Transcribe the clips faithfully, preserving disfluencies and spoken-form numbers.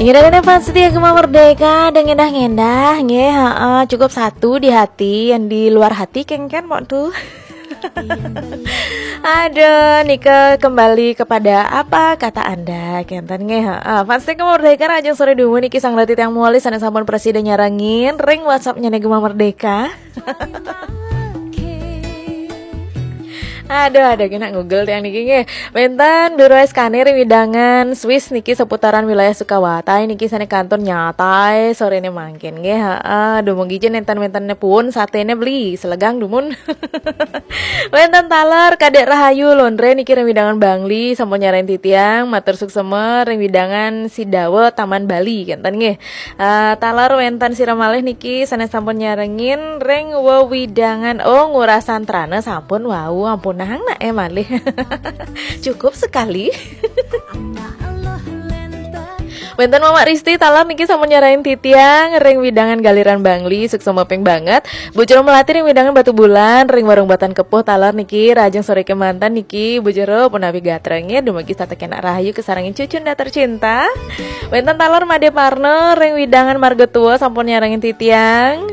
Inggih, dan fans setia Gema Merdeka, ada ngendah-ngendah nggih, heeh, cukup satu di hati, yang di luar hati kengken mok tuh. Aduh, nika kembali kepada apa kata Anda, kenten nggih, heeh. Fans setia Gema Merdeka, rahajeng sore dumun niki sareng titiang malih sané sampun presida nyarengin ring WhatsApp-nya Gema Merdeka. Aduh, ada kena Google tiang niki nggih. Wénten Biro S K N ring wewidangan Swiss niki seputaran wilayah Sukawati niki sané kantun nyatai soréné mangkin nggih. Heeh, dumugi jin nénten-nénten pun saténé beli selegang dumun. Wénten taler Kadék Rahayu Londre niki ring wewidangan Bangli sampun nyarengin titiang, matur suksema ring wewidangan Sidawa Taman Bali kenten nggih. Eh, taler wénten sira malih niki sané sampun nyarengin ring wewidangan, oh, Ngurah Santrana sampun wau, ampunang nak eh malih. Cukup sekali. Wénten Mamak Risti taler niki sampun nyarengin titiang ring wewidangan Galiran Bangli, suksema ping banget. Bu Jero Melati ring wewidangan Batubulan, ring Warung Batan Kepuh taler niki, rahajeng sore kémanten niki, Bu Jero punapi gatra nggih, dumugi setata kenak rahayu kasarengin cucunda tercinta. Wénten taler Madé Parno ring wewidangan Marga Tua sampun nyarengin titiang.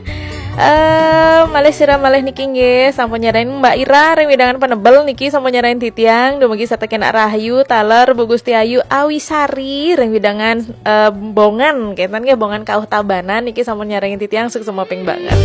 Eh, malih sira malih niki nggih, sampun nyarengin Mbak Ira ring wewidangan Penebel niki sampun nyarengin titiang, dumugi setata kenak rahayu, taler Bu Gusti Ayu Awisari ring wewidangan, eh, Bongan, kenten nggih, Bongan Kauh Tabanan niki sampun nyarengin titiang, suksema ping banget.